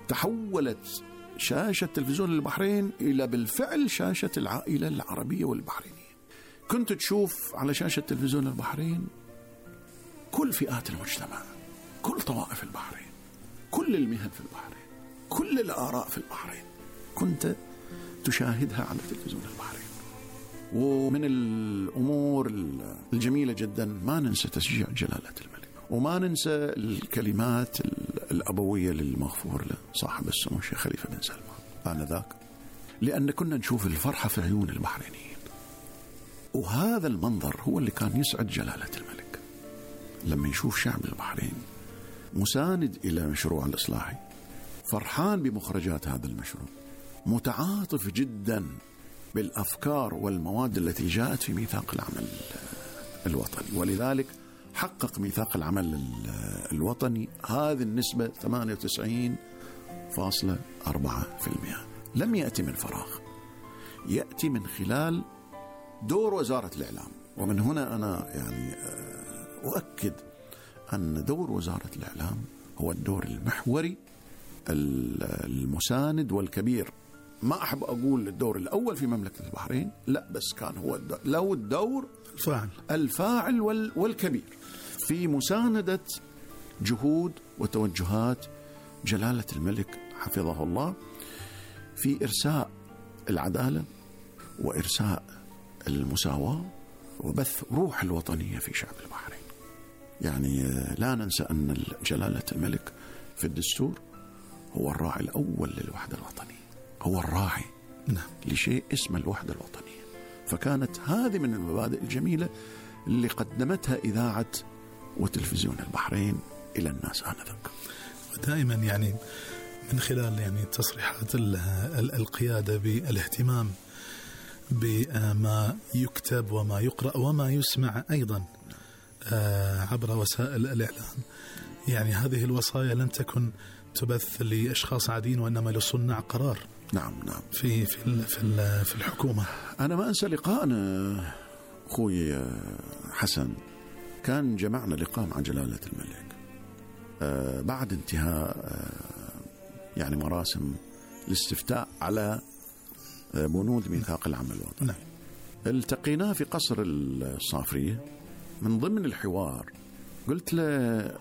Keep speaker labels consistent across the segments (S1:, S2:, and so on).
S1: تحولت شاشة تلفزيون البحرين إلى بالفعل شاشة العائلة العربية والبحرينية. كنت تشوف على شاشة تلفزيون البحرين كل فئات المجتمع، كل طوائف البحرين، كل المهن في البحرين، كل الآراء في البحرين كنت تشاهدها على تلفزيون البحرين. ومن الأمور الجميلة جدا ما ننسى تشجيع جلالة الملك، وما ننسى الكلمات الأبوية للمغفور له صاحب السمو الشيخ خليفة بن سلمان آنذاك، لأن كنا نشوف الفرحة في عيون البحرينيين. وهذا المنظر هو اللي كان يسعد جلالة الملك، لما يشوف شعب البحرين مساند إلى مشروع الإصلاحي، فرحان بمخرجات هذا المشروع، متعاطف جدا بالأفكار والمواد التي جاءت في ميثاق العمل الوطني. ولذلك حقق ميثاق العمل الوطني هذه النسبة 98.4%. لم يأتي من فراغ، يأتي من خلال دور وزارة الإعلام. ومن هنا أنا يعني أؤكد أن دور وزارة الإعلام هو الدور المحوري المساند والكبير. ما أحب أقول الدور الأول في مملكة البحرين، لا، بس كان هو له الدور الفاعل والكبير في مساندة جهود وتوجهات جلالة الملك حفظه الله في إرساء العدالة وإرساء المساواة وبث روح الوطنية في شعب البحرين. يعني لا ننسى أن جلالة الملك في الدستور هو الراعي الأول للوحدة الوطنية، هو الراعي لشيء اسمه الوحدة الوطنية. فكانت هذه من المبادئ الجميلة اللي قدمتها إذاعة وتلفزيون البحرين إلى الناس آنذاك.
S2: ودائما يعني من خلال يعني تصريحات القيادة بالاهتمام بما يكتب وما يقرأ وما يسمع أيضا عبر وسائل الإعلام، يعني هذه الوصايا لم تكن تبث لأشخاص عاديين وإنما لصناع قرار.
S1: نعم
S2: في الحكومة.
S1: أنا ما أنسى لقاءنا أخوي حسن، كان جمعنا لقاء مع جلالة الملك بعد انتهاء يعني مراسم الاستفتاء على بنود ميثاق العمل الوطني. التقيناه في قصر الصافرية. من ضمن الحوار قلت له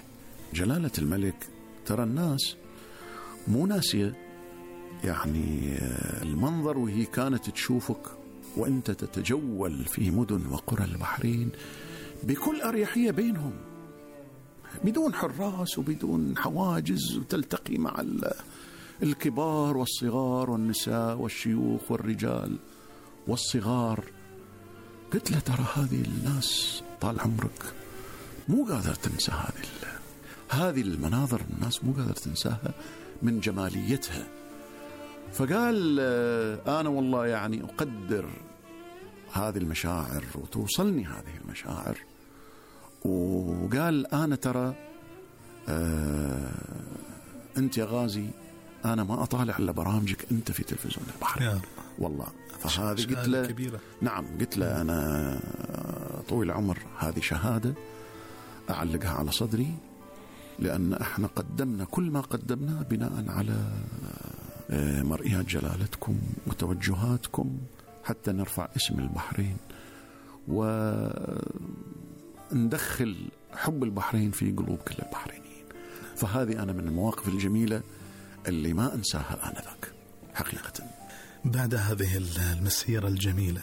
S1: جلالة الملك ترى الناس مو ناسية يعني المنظر وهي كانت تشوفك وانت تتجول في مدن وقرى البحرين بكل أريحية بينهم بدون حراس وبدون حواجز، وتلتقي مع الكبار والصغار والنساء والشيوخ والرجال والصغار. قلت له ترى هذه الناس طال عمرك مو قادر تنسى هذه المناظر، الناس مو قادر تنساها من جماليتها. فقال أنا والله يعني أقدر هذه المشاعر وتوصلني هذه المشاعر. وقال أنا ترى أنت يا غازي أنا ما أطالع إلا برامجك أنت في تلفزيون البحرين والله. فهذه قلت له كبيرة. نعم قلت له أنا طويل العمر هذه شهادة أعلقها على صدري، لأن احنا قدمنا كل ما قدمناه بناء على مرئيات جلالتكم وتوجهاتكم حتى نرفع اسم البحرين وندخل حب البحرين في قلوب كل البحرينيين. فهذه أنا من المواقف الجميلة اللي ما أنساها آنذاك حقيقة.
S2: بعد هذه المسيرة الجميلة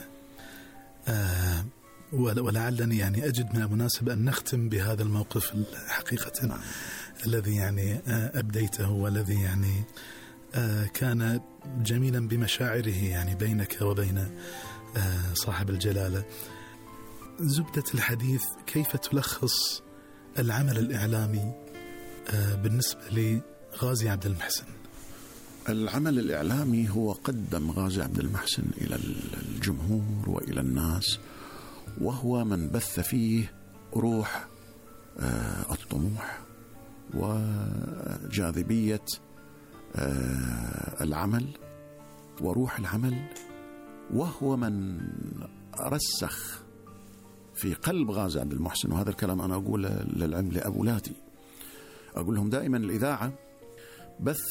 S2: ولعلني يعني أجد من المناسب أن نختم بهذا الموقف حقيقة الذي يعني أبديته والذي يعني كان جميلا بمشاعره يعني بينك وبين صاحب الجلالة. زبدة الحديث، كيف تلخص العمل الإعلامي بالنسبة لغازي عبد المحسن؟
S1: العمل الإعلامي هو قدم غازي عبد المحسن إلى الجمهور وإلى الناس، وهو من بث فيه روح الطموح وجاذبية العمل وروح العمل، وهو من رسخ في قلب غازي عبد المحسن. وهذا الكلام أنا أقوله للعم لأولادي، أقول لهم دائما الإذاعة بث